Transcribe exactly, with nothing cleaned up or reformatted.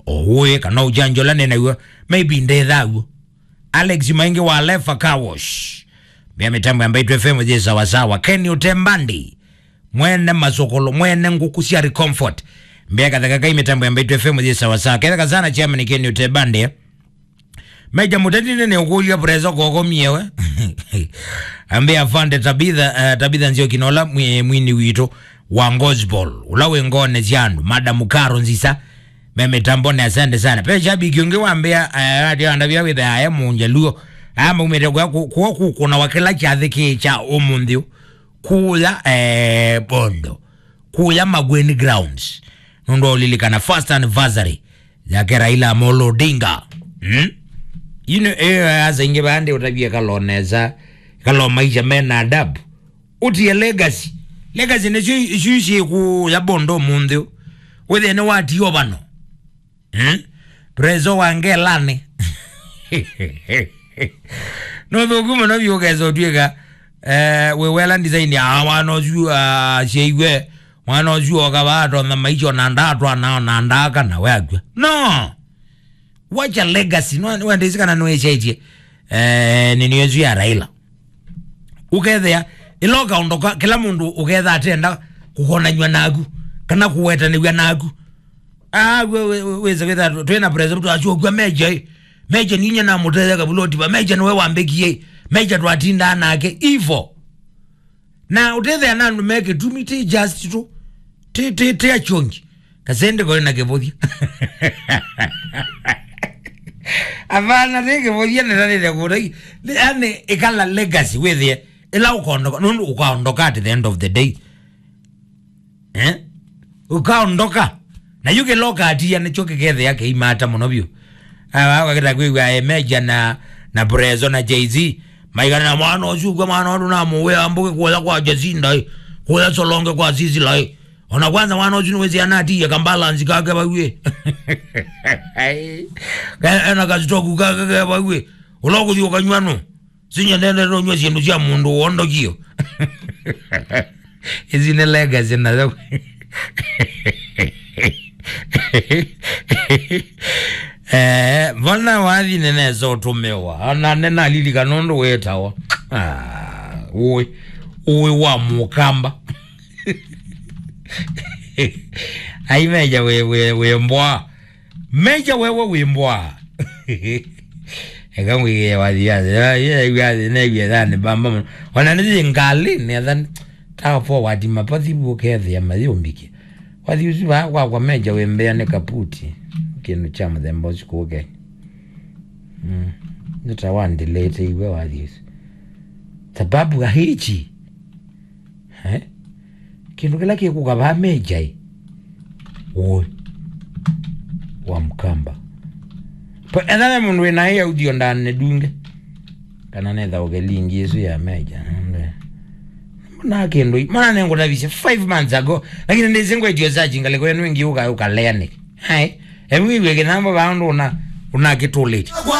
Ũĩ kana ũjanjo ũla nĩ naw'o, maybe ndethaw'o. Alex Maingi wa Lefa Car Wash. Mbĩa mĩtambo ya Mbaitu F M yĩ sawasawa. Ken Utembandi. Mwene masokolo, mwene ngũkũ sya Recomfort. Mbĩa katheka kai mĩtambo ya Mbaitu F M yĩ sawasawa. Ketheka sana chairman Ken Utembandi. Meja Mũteti nĩ ũkũlya Prezo koko miewe. Ambĩa afande Tabitha, eh, Tabitha Nzioki na ũla mwi-, mwini witũ wa gospel, ũla wĩ ngone sya andũ, Madam Karo Nzisa, me mĩtambonĩ, asante sana. Pe shabiki ũngĩ wambĩa, eh, ati andavya wĩthe aye mũnjaluo. Aya maumĩte kwa ku-, kuo kũkũna wa kĩla kyathĩ kĩ kya ũmũnthĩ ũ. Kũya, eh, Bondo. Kũya Makueni Grounds. Nũndũ wa ũlilikana first anniversary yake Raila Amolo Odinga. Hmm? Ino, eh, asa ingĩ vandi ũtavie kalo nesa, kalo maisha mena adabu. Ũtie legacy. Legacy nĩsyo isu ici kũya Bondo mũnthĩ. Wĩthĩe nĩ watio vano. Hmm? Prezo wa ngelani. No thũku mũno vyũ ũkesa ũtw'ĩka, eh, wĩ wela design ya mwana ũsu, ah, syaiwe. Mwana ũsu oka vaa atonya maisha ona ndatwana ona ndaka na we akw'a. No! Wacha legacy. No, wendĩsĩ kana nĩwĩsyaĩtye, eh, nĩnĩ ĩsu ya Raila. Ũkethĩa, ĩla ũkaondoka, kĩla mũndũ ũketha atenda kũkonanywa naku, kana kũwetanĩw'a naku. Ah, we, we, we, wĩse wĩtha, twĩ na president asu ũkw'a Meja, eh. Meja ninyie namũteya kavuloti va. Meja nĩwe wambĩkie, eh. Meja twatindaa nake. Ivo. Na ũtethea na andũ me kĩtumi, ti just tu. Ti, ti, ti achongi. Kasende kore na kĩvũthya. Avana ti kĩvũthya nĩtanĩte kũtai. Yani, ĩkala legacy wĩthĩe. Ĩla ũkaondoka, nũndũ ũkaondoka at the end of the day. Eh? Ũkaondoka. Na yu kĩla ũkatia nĩkyo kĩkethĩa kĩimata mũno vyũ. Aa, wakita kwĩw'a Meja na, na Prezo na Jay-Z. Maikana na mwana ũsu kwa mwana watu na mũwĩa mbũkĩ kũya kwa Jacinda, eh. Kũya Solonge kwa Sisila, eh. Ona kwanza mwana ũsu nĩwĩsĩ anatiie kambalansi kake vau, eh. Ka-, ena kasitoku kake ke vau, eh. Ũla ũkũthi ũkanywa nũ. Sinyendete nũnywa syĩndũ sya mũndũ wondokio. Ici nĩ legacy nayo. Eh, vana wathi nĩnesa ũtũmĩwa. Ona nĩnalilikana ũndũ wĩtawa. Ah, ũĩ. Ũĩ wa mũkamba. Ai Meja wĩ, wĩ, wĩ mbwa. Meja wewe wĩ mbwa. Eka ngwĩkĩe wathi yathĩ. Ya, ya, yathĩ, newie thani bamba mũno. Ona nĩthi ngalĩ, nĩ athani. Taka forward mapathi ũkethĩa mayũmbĩkie. Wathi ũsu vaa kwakwa Meja wĩ mbea nĩ kaputi. Kĩndũ kya mũthemba ũsu kũke. Mm. Nĩta wandileteiwe wathi ũsu. Sababu ya hichi. Eh? Kĩndũ kĩla kĩkũka vaa Meja ĩ. Ũĩ. Wa Mkamba. Pa, etha ve mũndũ wĩna ĩ audio ndane dunge. Kana netha ũke lingi ĩsu ya Meja. Mbona kĩndũ ĩ. Mbona nengũtavisye five months ago. Lakini ndĩsĩ ngwetio search ngalĩko yenu ĩngĩ ũka, ũkalea nĩ. Hai. Ebu iwe kĩnambo vaa ũndũ una, una kĩtũlĩte.